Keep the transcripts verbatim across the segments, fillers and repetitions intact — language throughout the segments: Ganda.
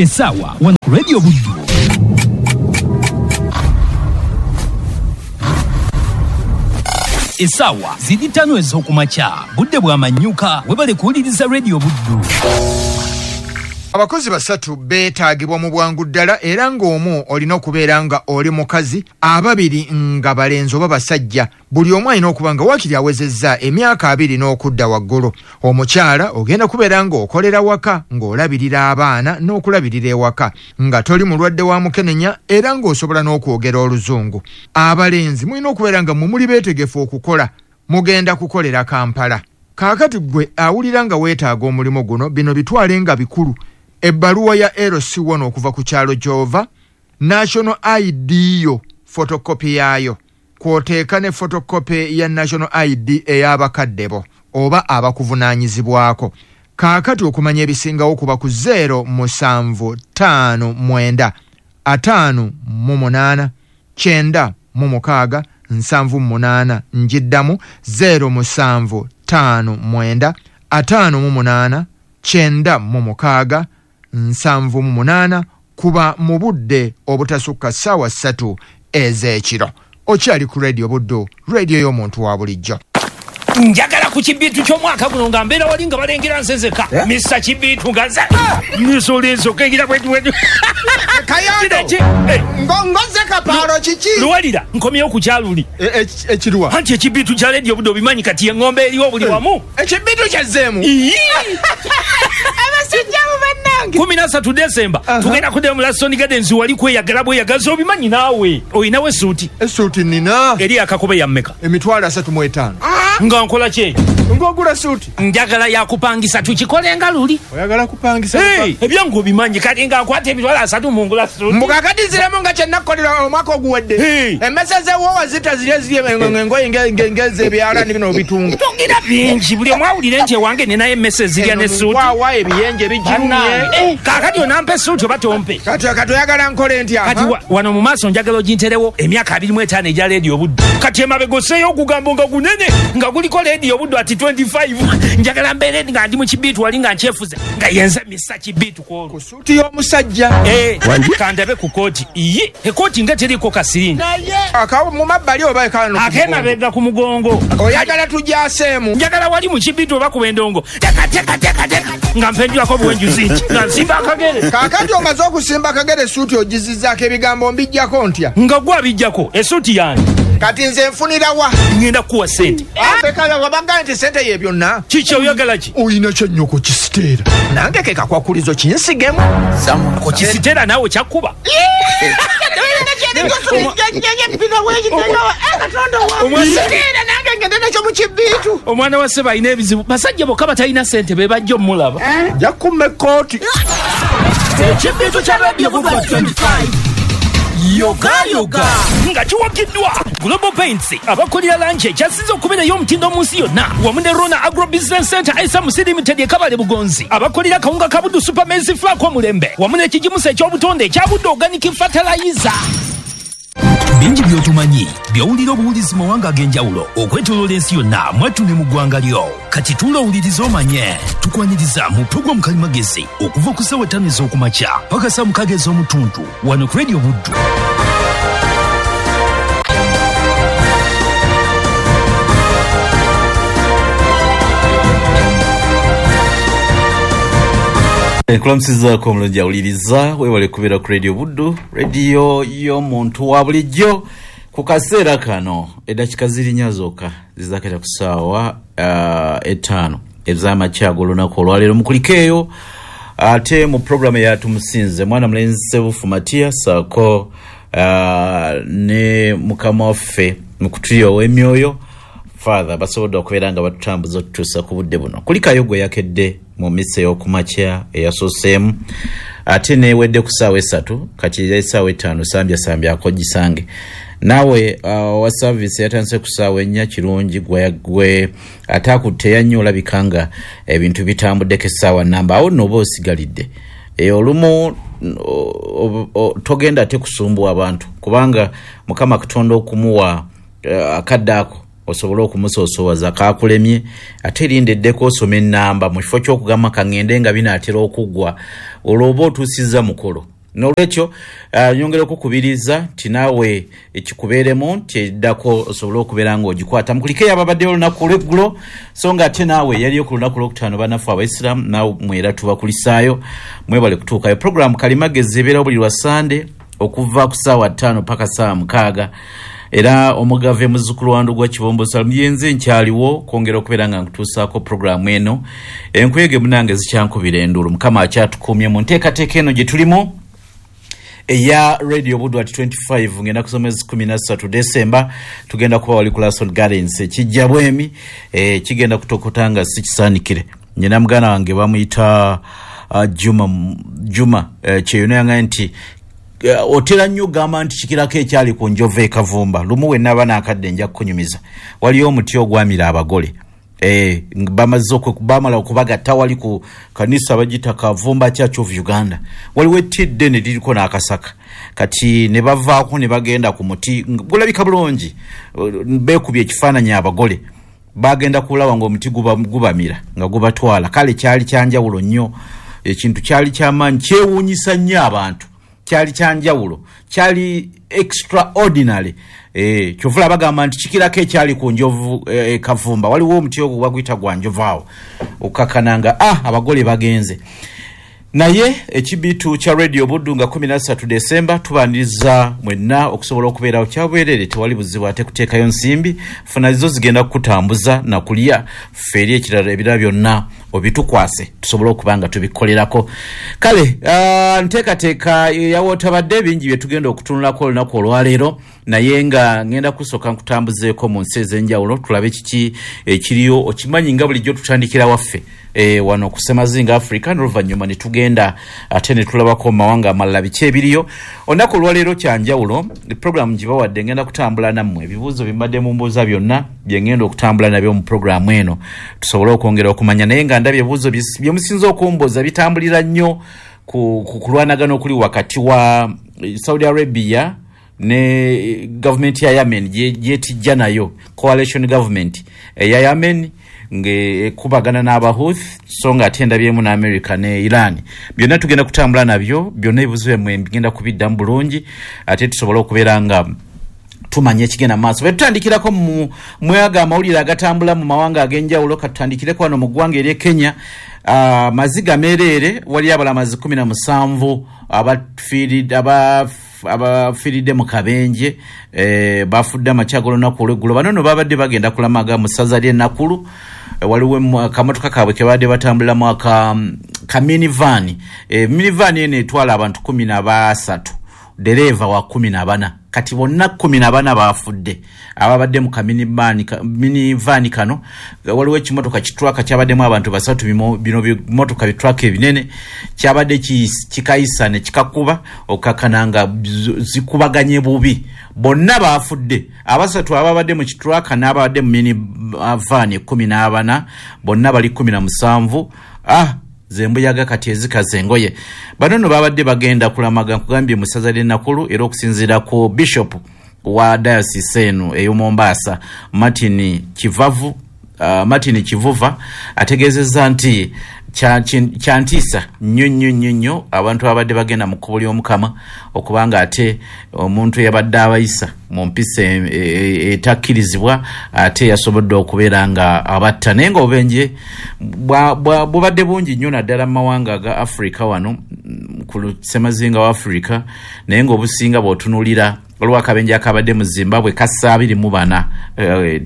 Essaawa wano ku Radio Buddu. Essaawa ziri ttaano ez'okumakya, budde bwa manyuka, webale kuwuliriza Radio Buddu. Abakozi basatu beetaagibwa mu bwangu ddala, era ng'omu olina okubeera nga oli mukazi, ababiri nga balenzi oba basajja. Buli omu alina okuba nga waakiri awezezza emyaka abiri n'okudda waggulu. Omukyala ogenda kubeera ng'okolera waka, ng'olabirira abaana n'okulabirira ewaka, nga toli mulwadde wa mukenenya era ng'osobola n'okwogera oluzungu. Abalenzi mulina okubeera nga mmwe muli beetegefu okukola, mugenda kukolera Kampala. Kaakati ggwe awulira nga weetaaga omulimu guno, bino bitwale nga bikulu. Ebbaluwa ya L C one okuva ku kyalo gy'ova, National I D yo photocopy yaayo, kw'oteeka ne photocopy ya National I D ey'abakadde bo oba abakuvunaanyizibwako. Kaakati okumanya ebisingawo kuba ku zero musanvu ttaano mwenda ataano mu munaana kyenda mu mukaaga nsanvu mu munaana. Njiddamu zero musanvu ttaano mwenda ataano mu munaana kyenda mu mukaaga nsanvu mu munaana, kuba mu budde obutasukka ssaawa ssatu ez'ekiro. Okyali ku Radio Buddu, radio y'omuntu wa bulijjo. Njagala ku kibiitu ky'omwaka guno nga mbeera wali nga balengera nsezeka. Eh? Misa kibiitu nga nze. Nisulizo kengira bwetu bwetu. Kayondo. Eh. Ngoze kapaalo kiki? Luwalira nkomyewo ku kyaluli. E, e, ekiruwa? Anti ekibiitu kya Radio Buddu obimanyi kati eng'ombe eriwo buli wamu. Ekibiitu kyazzeemu. Ii. Abasajja abo bannange. Kumi na ssatu Desemba, Aha. tugenda kuddayo mu Laston Gardens wali kweyagala bweyagaza obimanyi naawe. Olinawo essuuti? Essuuti nnina. Eri akakobe ya mmeka? Emitwalo asatu mu etaano. Nga nkola ki? Ng'ogula suuti? Njagala yakupangisa tukikole nga luli. Oyagala kupangisa? Hey, ebyangu obimanyi kati nga nkwata emitwalo asatu mu ngula suuti. Mbuga kati nziremu nga kye nakkolera omwaka oguwedde. Hey. Emmese z'ewoowa zita ziri eziri engoye nge-, nge-, ngeze ebyalaani bino obitunga. Togira bingi, buli omu awulire nti ewange ninayo emmese ezirya ne suuti. Waawa ebiyenje bijirumye. Bannange. Eh, kaakati onampa essuuti oba tompe? Kati, kati oyagala nkole ntya? Kati wa-, wano mu maaso njagala oginterewo emyaka abiri mu etaano egya Radio Buddu. Kati emabega osseeyo ogugambo nga gunene nga guliko Radio Buddu ati twenty-five. Njagala mbeere nga ndi mu kibiitu wali nga nkyefuze nga yenze misa kibiitu ku olwo. Ku suuti y'omusajja. Eh, Wangi? kandabe ku kooti. Iye, ekooti nga teriiko kasiringi. Naye, akawo mu mabbali oba ekaano ku mugongo? Ak'emabega ku mugongo. Oyagala tugyaseemu? Njagala wali mu kibiitu oba ku endongo. Teka, teka, teka, teka. Nga mpenjulako obuwenjuzi nti, nga nsimba akagere. Kaakati omaze okusimba akagere essuuti ogizizzaako ebigambo mbiggyako ntya? Nga gwe abiggyako, essuuti yange. Kati nze nfunira wa? Ngenda kukuwa ssente. Ate kale wabagamba nti ssente ye byonna. Kiki oyagala ki? Oyina kye nnyoko kisiteera. Nange ke kakwakulizo kinsigemu. Ku kisiteera naawe kyakkuba. Omwana wa ssebo alina ebizibu. Basajja bokka batalina ssente be bajja omulaba. Nja kumma ekkooti. Ekibiitu kya Radio Buddu twenty-five. Yoga yoga nga kiwagiddwa Global Paints abakolera langi ekyasinze okubeera ey'omutindo mu nsi yonna, wamu ne Rona Agro Business Center S M C Limited e Kabale Bugonzi, abakolera akawunga ka Buddu Super Maize Flour k'omulembe, wamu n'ekigimusa eky'obutonde ekya Buddu Organic Fertilizer. Bingi by'otumanyi by'owulira obuwulizi mu mawanga ag'enjawulo okwetooloola ensi yonna mwattu ne mu ggwanga lyo. Kati tuula owulirize omanye. Tukwaniriza mu pulogulaamu Kalimagezi okuva ku ssaawa ttaano ez'okumakya paka ssaawa mukaaga ez'omutuntu wano ku Radio Buddu. Nkulamusizaako omulungi awuliriza, weewale kubeera ku Radio Buddu, radio y'omuntu wa bulijjo. Ku kaseera kano eddakiika ziri nnya zokka zizaakata ku ssaawa, uh, etaano ez'amakya ag'olunaku olwaleero. Mukulikeeyo ate mu pulogulaamu eya Tumusinze, mwana mulenzi Ssebufu Matiya ssaako, uh, ne mukama waffe mu kutulyowa emyoyo Father, basobodde okubeera nga batutambuza otutuusa ku budde buno. Kulikayo gwe yakedde mu mmisa ey'okumakya eyasooseemu, ate neewedde ku ssaawa esatu, kati essaawa ettaano sambyasambya gisange. Naawe, uh, owa service yatandise ku ssaawa ennya, kirungi gwe, gwe ate akutte yannyo olabika nga ebintu bitambuddeko essaawa nnamba, awo nno oba osigalidde. E, olumu, o, o, o, togenda ate kusumbuwa abantu, kubanga Mukama Katonda okumuwa, eh, akadde ako Osobole okumusoosowaza kakulemye, ate linda eddeko osome ennamba mu kifo ky'okugamba kaŋŋende nga binaatera okuggwa, olwo oba otuusizza mukolo. N'olwekyo uh, nyongera okukubiriza nti naawe ekikubeeremu nti eddako osobole okubeera ng'ogikwata. Mukulikeyo ababaddeyo olunaku olw'eggulo, so nga ate naawe yaliyo ku lunaku olwokutaano bannaffe Abaisiraamu, naawe mwera tubakulisaayo, mwebale kutuukayo. Puroguramu Kalimagezi ebeerawo buli lwa Sande okuva ku ssaawa ttaano paka ssaawa mukaaga. Era omugave muzzukulu wa Ndugwa Kibombo Salumu yenze nkyaliwo kwongera okubeera nga nkutuusaako puroguramu eno. Enkuyege munange zikyankubira enduulu, Mukama akyatukuumye mu nteekateeka eno gye tulimu eya Radio Buddu at twenty-five. Ngenda kusoma ezi kumi na ssatu Desemba, tugenda kuba wali ku Lason Gardens ekijja bwemi, eh, kigenda kutokota nga si kisaanikire. Nyina muganda wange bamuyita uh, Juma, Juma eh, Kyeyune yangaye nti uh, otera nnyo ogamba nti kikirako ekyali ku njovu e Kavumba. Lumu we naba n'akadde nja kukunyumiza, waliyo omuti ogwamira abagole. Eh, bamaze bamala okubagatta wali ku kanisa bagiyita Kavumba Church of Uganda, waliwo etti eddene liriko n'akasaka. Kati ne bavaako ne bagenda ku muti gulabika bulungi, beekubye ekifaananyi abagole bagenda kulaba ng'omuti gubamira nga gubatwala. Kale kyali kyanjawulo nnyo, ekintu kyali kyamaanyi, kyewuunyisa nnyo abantu, kyali kyanjawulo, kyali extraordinary. Eh, kyovula bagamba nti kikirako ekyali ku njovu e, Kavumba. Waliwo omuti ogwo baguyita gwa njovu awo okukakkananga ah, abagole bagenze. Naye ekibitu kya Radio Buddu nga kumi na ssatu Desemba tubaniriza mwenna okusobola okubeerawo kyabwerere, tewali buzibu ate kuteekayo nsimbi, funa zo zigenda kukutambuza na kulya ffe eri ekirala ebirala byonna obitukwase tusobole okuba nga tubikolerako. Kale uh, nteekateeka yawootabadde bingi bye tugenda okutunulako olunaku olwaleero, naye nga ngenda kusooka nkutambuzeeko mu nsi ez'enjawulo tulabe kiki ekiriyo. Okimanyi nga bulijjo tutandikira waffe e, wano ku Ssemazinga Africa, n'oluvannyuma ne tugenda ate ne tulabako mu mawanga amalala biki ebiriyo. Olunaku olwaleero kyanjawulo, puroguramu gibawadde ngenda kutambula nammwe, ebibuuzo bye mbadde mumbuuza byonna bye ngenda okutambula nabyo mu puroguramu eno tusobole okwongera okumanya. Naye nga ndabye ebibuuzo bye musinze okumbuuza bitambulira nnyo ku kulwanagana okuli wakati wa Saudi Arabia ne gavumenti ya Yemen gyetijja nayo, coalition government eya Yemen ng'ekubagana n'Abahuth, so nga ate ndabyemu ne America ne Iran. Byonna tugenda kutambula nabyo, byonna ebibuuzo byammwe bigenda kubiddamu bulungi ate tusobole okubeera nga tumanye ekigenda mu maaso. Bwe tutandikirako mu mwaga amawulire agatambula mu mawanga ag'enjawulo, katutandikireko wano mu ggwanga ery'e Kenya. Uh, maziga meereere, waliyo abalamazi kumi na musanvu abafiiridde abafiiridde mu kabenje, eh, bafudde amakya g'olunaku olw'eggulo. Bano nno babadde bagenda kulamaga mu ssaza ly'e Nakuru. Waliwo akamotoka kaabwe ke babadde batambuliramu aka ka minivan. E, minivan eno etwala abantu kumi na basatu, dereeva wa kumi na bana. Kati bonna kumi na bana bafudde ababadde mu kaminivan kano. Waliwo ekimotoka kitruck kyabaddemu abantu basatu, bino bimotoka bitruck ebinene, kyabadde kikayisa ne kikakuba okukakana nga zikubaganye bubi, bonna bafudde. Abasatu ababadde mu kitruck n'ababadde mu minivan kumi na bana bonna bali kumi na musanvu. Ah, zembuyaga kati ezikaza engoye. Bano nno babadde bagenda kulamaga nkugambye mu ssaza ly'e Nakuru, era okusinziira ku bishop wa diocese eno ey'e Mombasa Martin Kivavu, uh, Martin Kivuva ategeezezza nti kyantiisa nnyo nnyo nnyo nnyo abantu ababadde bagenda mu kkubo ly'Omukama okubanga ate omuntu eyabadde abayisa mu mpisa etakkirizibwa ate yasobodde okubeera nga abatta. Naye nga obubenje bubadde bungi nnyo naddala mu mawanga aga Africa wano ku ssemazinga wa Africa, naye nga obusinga bw'otunuulira waliwo akabenje akabadde mu Zimbabwe kassa abiri mu bana,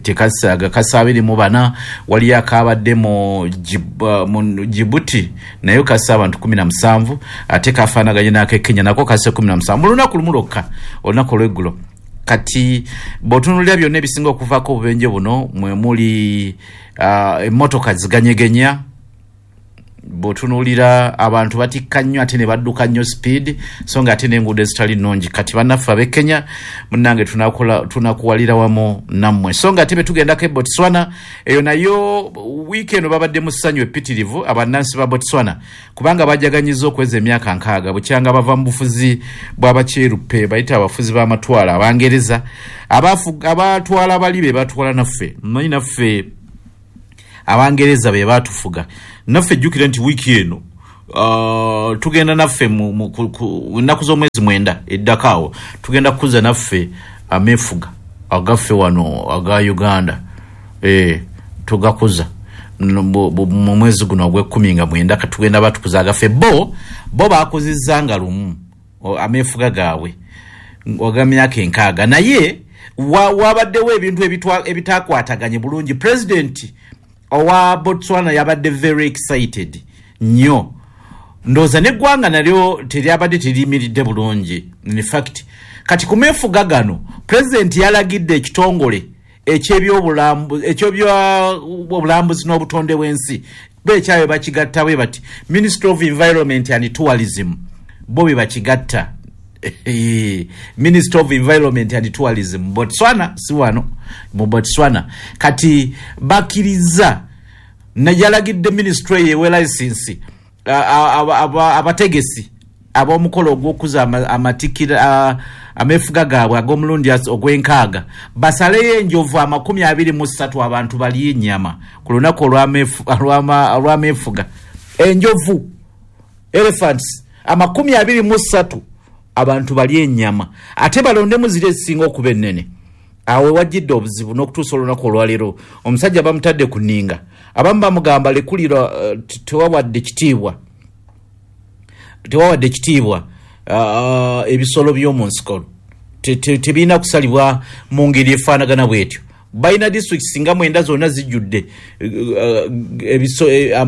tekasaaga kassa abiri mu bana. Waliyo akabadde mu Djibouti nayo kassa abantu kumi na musanvu, ate kafaanaganye n'ak'e Kenya nako kasse kumi na musanvu mu lunaku lumu lwokka, olunaku olw'eggulo. Kati bw'otunuulira byonna ebisinga okuvaako obubenje buno mwe muli emmotoka ziganyegenya, Bw'otunuulira abantu batikka nnyo ate ne badduka nnyo speed, so nga ate n'enguudo ezitali nnungi. Kati bannaffe ab'e Kenya munnange tunakola tunakuwalira wamu nammwe. So nga ate betugendako e Botswana, eyo nayo wiiki eno babadde mu ssanyu eppitirivu abannansi ba Botswana, kubanga bajaganyiza okweza emyaka nkaaga bukyanga bava mu bufuzi bw'abakyeruppe, bayita abafuzi b'amatwalo Abangereza abatwala bali be batwala naffe. Mmanyi naffe Abangereza be batufuga naffe. Jjukira nti wiiki eno uh, tugenda naffe mu nnaku z'omwezi mwenda eddako awo tugenda kukuza naffe ameefuga agaffe wano aga Uganda, e, tugakuza mu mwezi guno ogw'ekkumi nga mwenda katugenda batukuza agaffe. Bo bo bakuzizza nga lumu ameefuga gaabwe agamyaka enkaaga, naye wabaddewo ebintu ebitakwataganye bulungi. Pulezidenti owa Botswana yabadde very excited nnyo, ndowooza n'eggwanga nalyo teryabadde teriyimiridde bulungi. In fact kati ku meefuga gano pulezidenti yalagidde ekitongole eky'ebyobulambuzi n'obutonde bw'ensi bo ekyayo bakigatta bwe bati Ministry of Environment and Tourism, bo be bakigatta Ministry of Environment and Tourism Botswana, si wano mu Botswana. Kati bakkiriza yalagidde ministry ewe license abategesi ab'omukolo ogw'okuza amatikira ameefuga gaabwe ag'omulundi ogw'enkaaga basaleyo enjovu amakumi abiri mu ssatu abantu balye ennyama ku lunaku olw'ameefuga. Enjovu elephants amakumi abiri mu ssatu abantu balye ennyama, ate balondemu ziri ezisinga okuba ennene. Awo wajjidde obuzibu n'okutuusa olunaku olwaleero omusajja bamutadde ku nninga, abamu bamugamba lekulira tewawadde kitiibwa tewawadde kitiibwa ebisolo by'omu nsiko tebirina kusalibwa mu ngeri efaanagana bw'etyo. Balina disitulikiti nga mwenda zonna zijjudde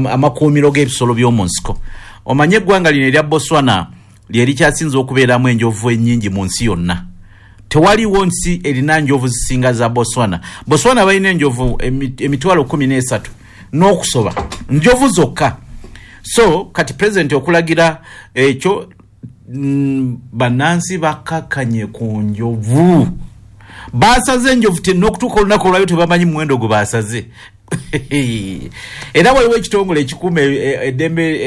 amakuumiro g'ebisolo by'omu nsiko. Omanye eggwanga lino erya Botswana lye likyasinze okubeeramu enjovu ennyingi mu nsi yonna. Tewaliwo nsi erina njovu zisinga za Botswana. Botswana balina enjovu emitwalo kkumi n'esatu n'okusoba, njovu zokka. So kati pulezidenti okulagira ekyo, mm, bannansi bakkakkanye ku njovu, basaze enjovu n'okutuuka olunaku olwayo tebamanyi muwendo gwe basaze. Era waliwo ekitongole ekikuuma eddembe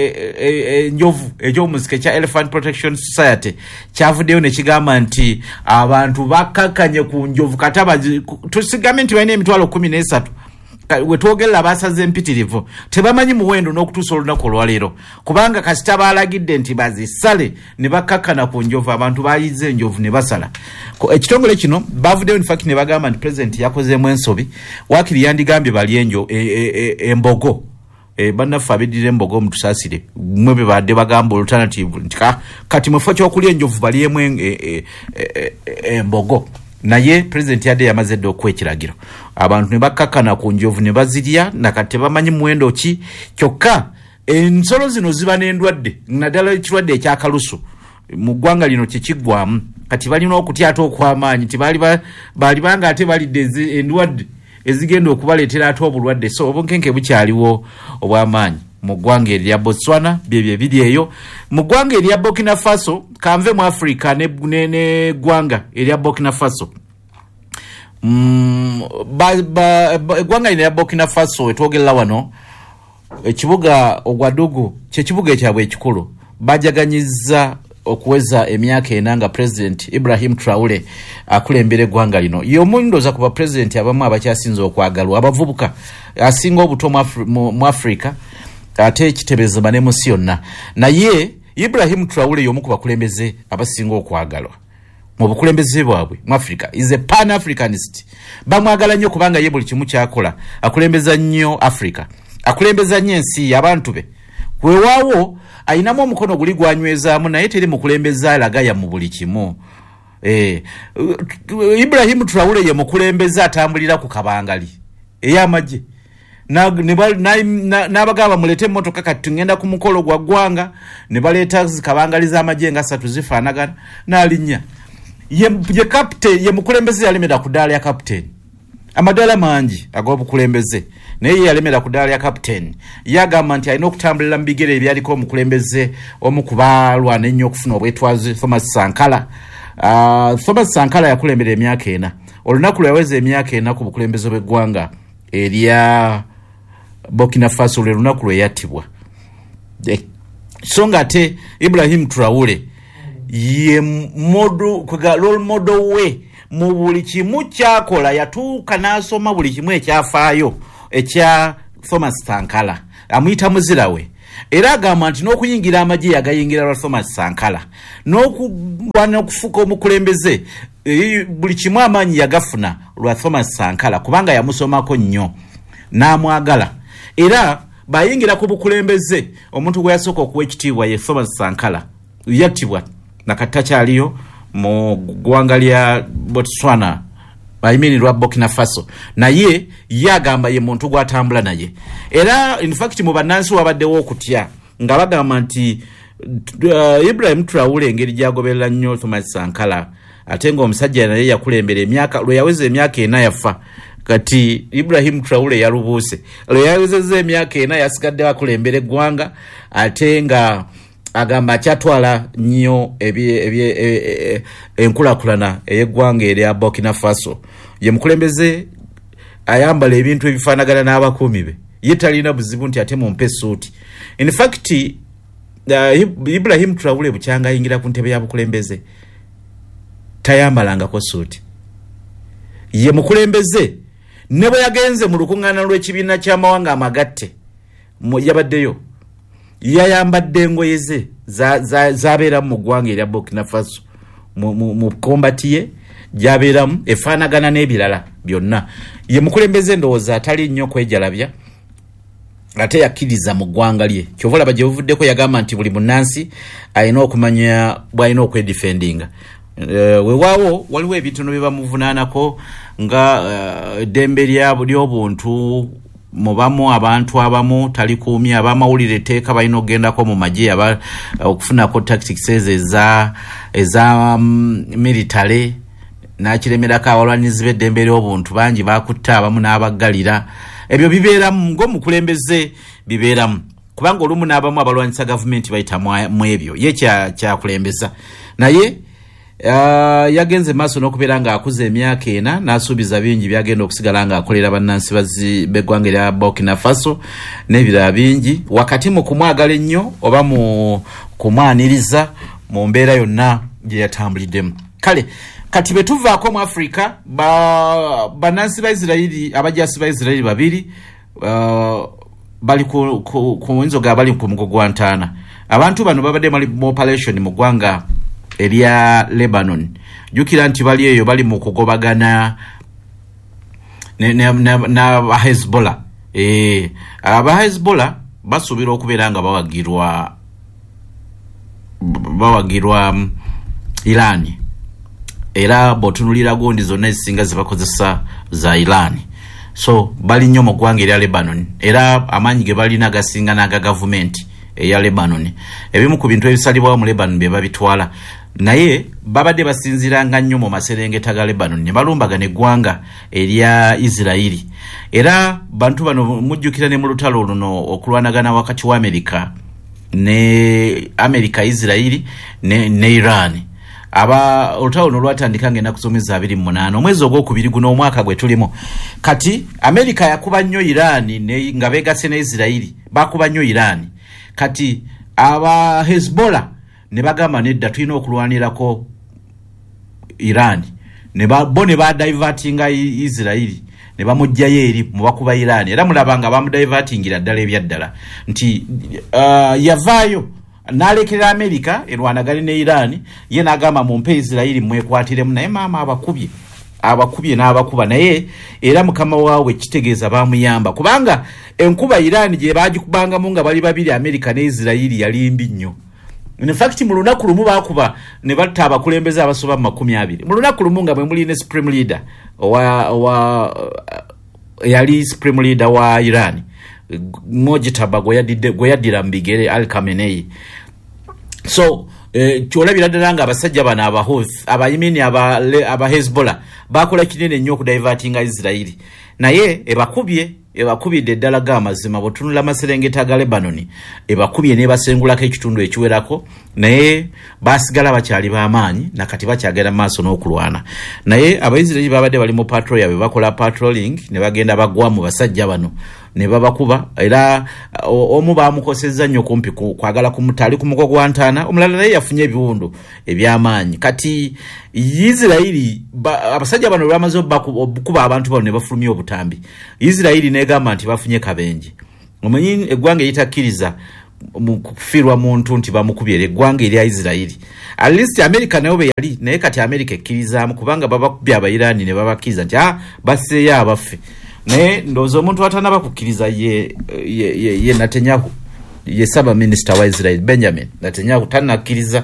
enjovu ekyomusika ekya Elephant Protection Society kyavuddeyo ne kigamba nti abantu bakkakkanye ku njovu. Kati tusigambe nti balina emitwalo kkumi n'esatu, wetwogerera basaze empitirivu tebamanyi muwendo n'okutuusa olunaku olwaleero, kubanga kasita baalagidde nti bazisale ne bakkakkana ku njovu, abantu bayize enjovu ne basala. Ekitongole kino bavuddeyo in fact ne bagamba nti pulezidenti yakozeemu ensobi, waakiri yandigambye balye enjo embogo. Bannaffe abeddira embogo mutusaasire, mmwe be badde bagamba alternative nti kati mu kifo ky'okulya enjovu balyemu embogo. Naye pulezidenti yadde yamaze dda okuwa ekiragiro, abantu ne bakkakkana ku njovu ne bazirya nakati tebamanyi muwendo ki. Kyokka ensolo zino ziba n'endwadde, naddala ekirwadde ekyakalusu mu ggwanga lino kyekiggwamu. Kati balina okutya ate okw'amaanyi nti baali banga ate balidde endwadde ezigenda okubaleetera ate obulwadde. So obunkenke bukyaliwo obw'amaanyi mu ggwanga erya Botswana, byebyo ebiri eyo. Mu ggwanga erya Burkina Faso, kanve mu Africa n'eggwanga erya Burkina Faso. Mm, eggwanga lino erya Burkina Faso wetwogerera wano, ekibuga Ouagadougou kyekibuga ekyabwe ekikulu, bajaganyizza okuweza emyaka ena nga President Ibrahim Traore akulembera eggwanga lino. Y'omu ndowooza ku bapulezidenti abamu abakyasinze okwagalwa abavubuka, asinga obuto mu Africa ate kitebezebwa ne mu nsi yonna. Naye Ibrahim Traore y'omu ku bakulembeze abasinga okwagalwa mu bukulembeze bwabwe mu Africa. Is a pan-Africanist. Bamwagala nnyo kubanga ye buli kimu ky'akola akulembeza nnyo Africa, akulembeza nnyo ensi y'abantu be. Weewaawo ayinamu omukono guli gwanywezaamu, naye teri mukulembeze alagaya mu buli kimu. Eh, Ibrahim Traore ye mukulembeze atambulira ku kabangali ey'amagye n'abagamba muleete emmotoka kati tugenda ku mukolo gwa ggwanga, ne baleeta kabangali z'amagye nga ssatu zifaanagana n'alinnya. Ye, ye captain, ye mukulembeze yalemera ku ddaala ya captain. Amadaala mangi ag'obukulembeze, naye ye yalemera ku ddaala lya captain. Yagamba nti alina okutambulira mu bigere ebyaliko omukulembeze omu ku baalwana ennyo okufuna obwetwaze, Thomas Sankara. Uh, Thomas Sankara yakulembera emyaka ena. Olunaku lwe yaweza emyaka ena ku bukulembeze bw'eggwanga erya Burkina Faso, lwe lunaku lwe yattibwa. So nga ate Ibrahim Traore ye model, kwega role model we mu buli kimu kyakola. Yatuuka n'asoma buli kimu ekyafaayo ekya Thomas Sankara, amuyita muzira we. Era agamba nti n'okuyingira amagye yagayingira lwa Thomas Sankara, n'okulwana okufuuka omukulembeze, e, buli kimu amaanyi yagafuna lwa Thomas Sankara, kubanga yamusomako nnyo n'amwagala. Era bayingira ku bukulembeze, omuntu gwe yasooka okuwa ekitiibwa ye Thomas Sankara. Yattibwa nakati takyaliyo mu ggwanga lya Botswana, I mean lwa Burkina Faso, naye ye agamba ye muntu gw'atambula naye. Era in fact mu bannansi wabaddewo okutya nga bagamba nti uh, Ibrahim Traore engeri gy'agoberera nnyo Thomas Sankara, ate ng'omusajja naye yakulembera emyaka, lwe yaweza emyaka ena yafa. Kati Ibrahim Traore yalubuuse, lwe yawezezza emyaka ena yasigadde akulembera eggwanga, ate nga agamba akyatwala nnyo enkulaakulana ey'eggwanga erya Burkina Faso. Ye mukulembeze ayambala ebintu ebifaanagana n'abakuumi be, ye talina buzibu nti ate mumpe essuuti. In fact uh, Ibrahim Traore bukyanga ayingira ku ntebe ya bukulembeze tayambalangako ssuuti. Ye mukulembeze ne bwe yagenze mu lukuŋŋaana lw'ekibiina ky'amawanga amagatte yabaddeyo, yayambadde engoye ze zabeeramu mu ggwanga erya Burkina Faso, mu kombati ye gyabeeramu efaanagana n'ebirala byonna. Ye mukulembeze ndowooza atali nnyo kwejalabya, ate yakkiriza mu ggwanga lye. Kyova olaba gye buvuddeko yagamba nti buli munnansi alina okumanya bw'alina okwedifendinga. Weewaawo waliwo ebitono bye bamuvunaanako nga eddembe ly'obuntu mubamu abantu abamu talikuumye, abamawulire etteeka balina okugendako mu magye okufunako tactics ezo eza eza military, n'akiremerako abalwanirizi b'eddembe ly'obuntu bangi bakutta abamu n'abaggalira. Ebyo bibeeramu ng'omukulembeze bibeeramu, kubanga olumu n'abamu abalwanyisa gavumenti bayita mu ebyo ye kyakulembeza. Naye Uh, yagenze maaso n'okubeera ng'akuza emyaka ena n'asuubiza bingi byagenda okusigala ng'akolera bannansi b'eggwanga erya Burkina Faso n'ebirala bingi, wakati mu kumwagala ennyo oba mu kumwaniriza mu mbeera yonna gye yatambuliddemu. Kale kati bwe tuvaako mu Africa, bannansi ba Isirayiri, abajaasi ba Isirayiri babiri uh, bali ku, ku, ku nzoga bali ku mugo gwa ntaana. Abantu bano babadde mu operation mu ggwanga erya Lebanon. Jjukira nti bali eyo bali mu kugobagana na Hezbollah. Eh, aba Hezbollah basuubira okubeera nga bawagirwa bawagirwa Iran. Era bw'otunuulira gundi zonna ezisinga zibakozesa za Iran. So bali nnyo mu ggwanga erya Lebanon, era amaanyi ge balina gasinga n'aga gavumenti eya Lebanon. Ebimu ku bintu ebisalibwawo mu Lebanon bye babitwala, naye babadde basinziiranga nnyo mu maserengeta ga Lebanon ne balumbagana eggwanga erya Isirayiri. Era bantu bano mujjukira ne mu lutalo luno okulwanagana wakati wa Amerika ne Amerika, Isirayiri ne, ne Iran. Aba olutalo luno lwatandika ng'ennaku z'omwezi abiri mu munaana omwezi ogwokubiri guno omwaka gwe tulimu. Kati Amerika yakuba nnyo Iran ne, nga beegasse ne Isirayiri bakuba nnyo Iran. Kati aba Hezbollah ne bagamba nedda, tulina okulwanirako Iran. Ne ba, bo ne badivertinga Isirayiri ne bamuggyayo eri mu bakuba Iran. Era mulaba nga bamudivertingira ddala ebyaddala nti uh, yavaayo n'alekera Amerika erwanagane ne Iran, ye n'agamba mumpe Isirayiri mwekwatiremu, naye maama abakubye abakubye n'abakuba. Naye era mukama waabwe kitegeeza bamuyamba, kubanga enkuba Iran gye baagikubangamu nga bali babiri Amerika ne Isirayiri yali mbi nnyo. In fact mu lunaku lumu baakuba ne batta abakulembeze abasoba mu makumi abiri mu lunaku lumu, nga mwe muli ne supreme leader owa, owa yali supreme leader wa Iran Mojtaba gwe yaddira mu bigere Ali Khamenei. So E, kyolabira ddala nga abasajja bano Abahouthi, abayimini aba, aba Hezbollah bakola kinene nnyo okudivertinga Israeli, naye ebakubye ebakubidde ddala g'amazima. Bw'otunula amaserengeta ga Lebanon, ebakubye n'ebasengulako ekitundu ekiwerako, naye basigala bakyali b'amaanyi nakati bakyagenda maaso n'okulwana. Naye Abaisiraeri babadde bali mu patrol yaabwe, bakola patrolling, ne bagenda bagwa mu basajja bano ne babakuba, era omu bamukosezza nnyo kumpi kwagala kumutta, ali ku mugo gwa ntaana, omulala naye yafunye ebiwundu eby'amaanyi. Kati Isiraeri abasajja bano bamaze okukuba abantu bano ne bafulumya obutambi, Isiraeri n'egamba nti bafunye kabenje. Omanyi eggwanga eritakkiriza kufiirwa muntu nti bamukubye, eggwanga erya Isiraeri. At least America nayo bwe yali, naye kati America ekkirizaamu kubanga babakubye Abairani ne babakkiriza nti ah, basseeyo abaffe. Naye ndowooza omuntu atanaba kukkiriza ye, ye, ye, ye Netanyahu, ye ssaabaminisita wa Israel Benjamin Netanyahu tannakkiriza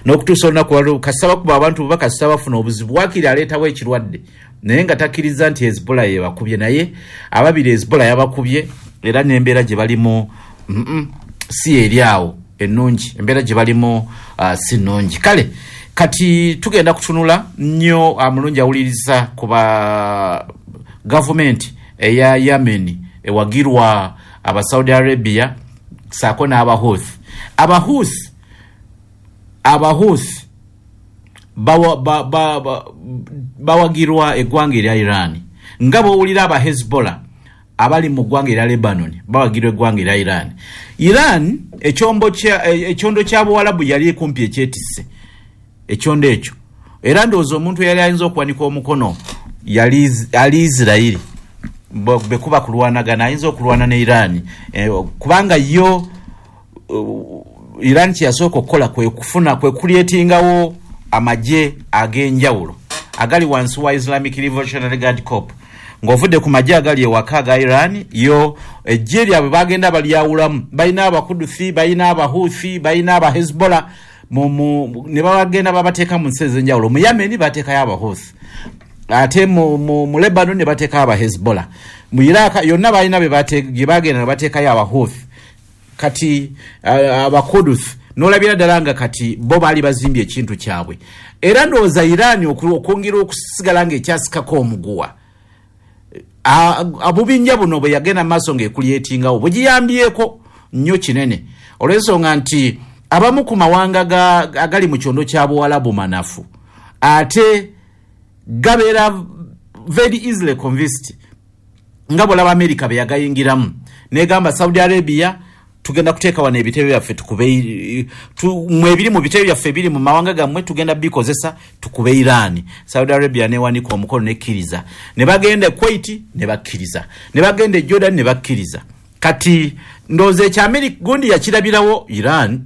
n'okutuusa olunaku lwaleero. Kasita bakuba abantu bo, kasita bafuna obuzibu, waakiri aleetawo ekirwadde, naye nga takkiriza nti Hezbollah yebakubye. Naye ababiri Hezbollah yabakubye, era n'embeera gye balimu mm -mm, si eri awo ennungi, embeera gye balimu uh, si nnungi. Kale kati tugenda kutunula nnyo amulungi awuliriza ku ba gavumenti eya Yemen ewagirwa aba Saudi Arabia saako n'Abahouthi. Abahouthi Abahouthi bawagirwa ba, ba, ba, eggwanga erya Iran, nga bw'owulira aba Hezbollah abali mu ggwanga erya Lebanon bawagirwa eggwanga erya Iran. Iran ekyombo kya ekyondo kya Buwalabu yali kumpi ekyetisse ekyondo ekyo, era ndowooza omuntu eyali ayinza okuwanika omukono yali ali Israeli bekuba kulwanagana, ayinza okulwana ne Iran e, kubanga yo uh, Iran kyeyasooka okukola kwe kufuna kwe kulyetingawo amagye ag'enjawulo agali wansi wa Islamic Revolutionary Guard Corps. Ng'ovudde ku magye agali ewaka aga Iran, yo eggye lyabwe bagenda balyawulamu, balina Abakuduthi, balina Abahouthi, balina Abahezbollah, ne babagenda babateeka mu nsi ez'enjawulo. Mu Yemen bateekayo Abahouthi, ate mu, mu, mu Lebanon ne bateekayo Abahezbollah, mu Iraq yonna balina gye bagenda ne bateekayo Abahouthi. Kati Abakuduthi n'olabira ddala nga kati bo baali bazimbye ekintu kyabwe. Era ndowooza Iran okwongera okusigala ng'ekyasikako omuguwa, abubinja buno bwe yagenda maaso ng'ekulyetingawo bugiyambyeko nnyo kinene, olw'ensonga nti abamu ku mawanga agali mu kyondo kya Buwalabu manafu, ate gabeera very easily convinced, nga bw'olaba America bye yagayingiramu n'egamba Saudi Arabia tugenda kuteeka wano ebitebe byaffe tukube mwe ebiri mu bitebe byaffe ebiri mu mawanga gammwe tugenda bikozesa tukube Iran. Saudi Arabia newanika omukono nekkiriza, ne bagenda e Kuwait ne bakkiriza, ne bagenda e Jordan ne bakkiriza. Kati ndowooza ekya America gundi yakirabirawo Iran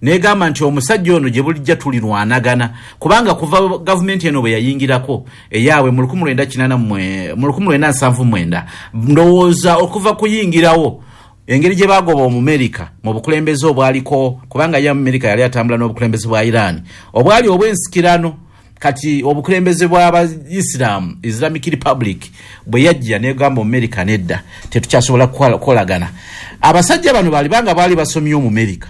negamba nti omusajja ono gye bulijja tulirwanagana, kubanga kuva gavumenti eno bwe yayingirako eyaabwe mu lukumi lwenda kinaana mu lukumi lwenda nsanvu mwenda, ndowooza okuva kuyingirawo engeri gye bagoba Omumerika mu bukulembeze obwaliko, kubanga ye Amerika yali atambula n'obukulembeze bwa Iran obwali obw'ensikirano. Kati obukulembeze bw'Abaisiraamu Islamic Republic bwe yajja negamba Omumerika nedda, tetukyasobola kukolagana. Abasajja bano baali banga baali basomye Omumerika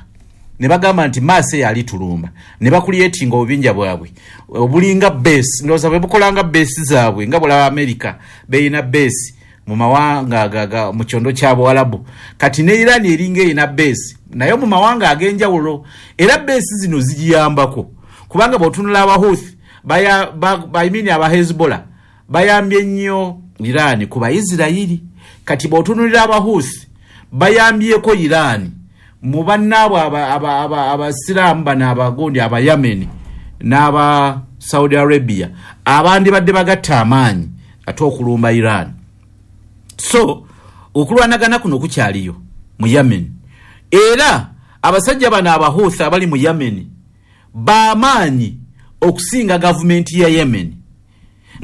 ne bagamba nti maase yali tulumba, ne bakulyetinga obubinja bwabwe obulinga base, ndowooza bwe bukolanga base zaabwe nga bw'olaba Amerika beyina base mu mawanga aga mu kyondo kya Buwalabu. Kati ne Iran eringa erina base naye mu mawanga ag'enjawulo, era base zino zigiyambako kubanga bw'otunula Abahouthi baya bayimini aba Hezbollah bayambye nnyo Iran ku Baisiraeri. Kati bw'otunulira Abahouthi bayambyeko Iran mu bannaabwe Abasiraamu bano abagundi Abayameni n'aba Saudi Arabia abandi badde bagatta amaanyi ate okulumba Iran. So okulwanagana kuno kukyaliyo mu Yemen, era abasajja bano Abahouthi abali mu Yemen bamaanyi okusinga gavumenti ya Yemen,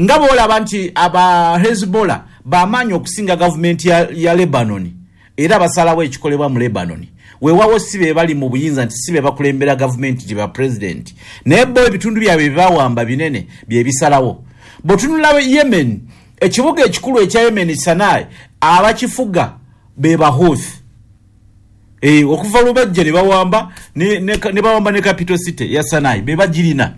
nga bw'olaba nti aba Hezbollah bamaanyi okusinga gavumenti ya, ya Lebanon, era basalawo ekikolebwa mu Lebanon. Weewaawo si be bali mu buyinza nti si be bakulembera gavumenti gye ba president, naye bo ebitundu byabwe bye bawamba binene bye bisalawo. Bw'otunula Yemen, ekibuga ekikulu ekya Yemen Sanaa, abakifuga be Bahouthi. E, okuva lwe bajja ne bawamba ne, ne, ne bawamba ne capital city ya Sanai, be bagirina.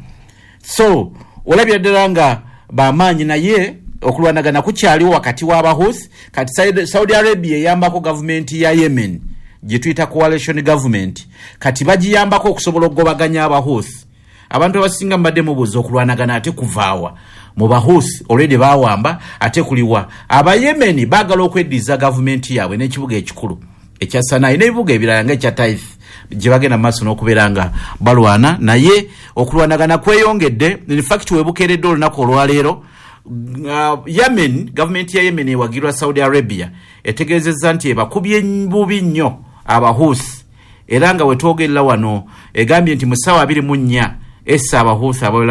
So olabira ddala nga bamaanyi, naye okulwanagana kukyaliwo wakati w'Abahusi. Kati Saudi- saudi Arabia eyambako gavumenti ya Yemen gye tuyita coalition government. Kati bagiyambako okusobola okugobaganya Abahusi. Abantu abasinga mubadde mubuuza, okulwanagana ate kuvaawa mu Bahusi? Already bawamba, ate kuliwa? Abayemeni baagala okweddiza gavumenti yaabwe n'ekibuga ekikulu ekya Sanai n'ebibuga ebirala nga ekya Taif, gye bagenda mu maaso n'okubeera nga balwana. Naye okulwanagana kweyongedde. In fact, webukeeredde olunaku olwaleero, uh, Yemen, gavumenti ya Yemen ewagirwa Saudi Arabia etegeezezza nti ebakubye bubi nnyo Abahusi, era nga wetwogerera wano egambye nti mu ssaawa abiri mu nnya essa Abahusi abawera.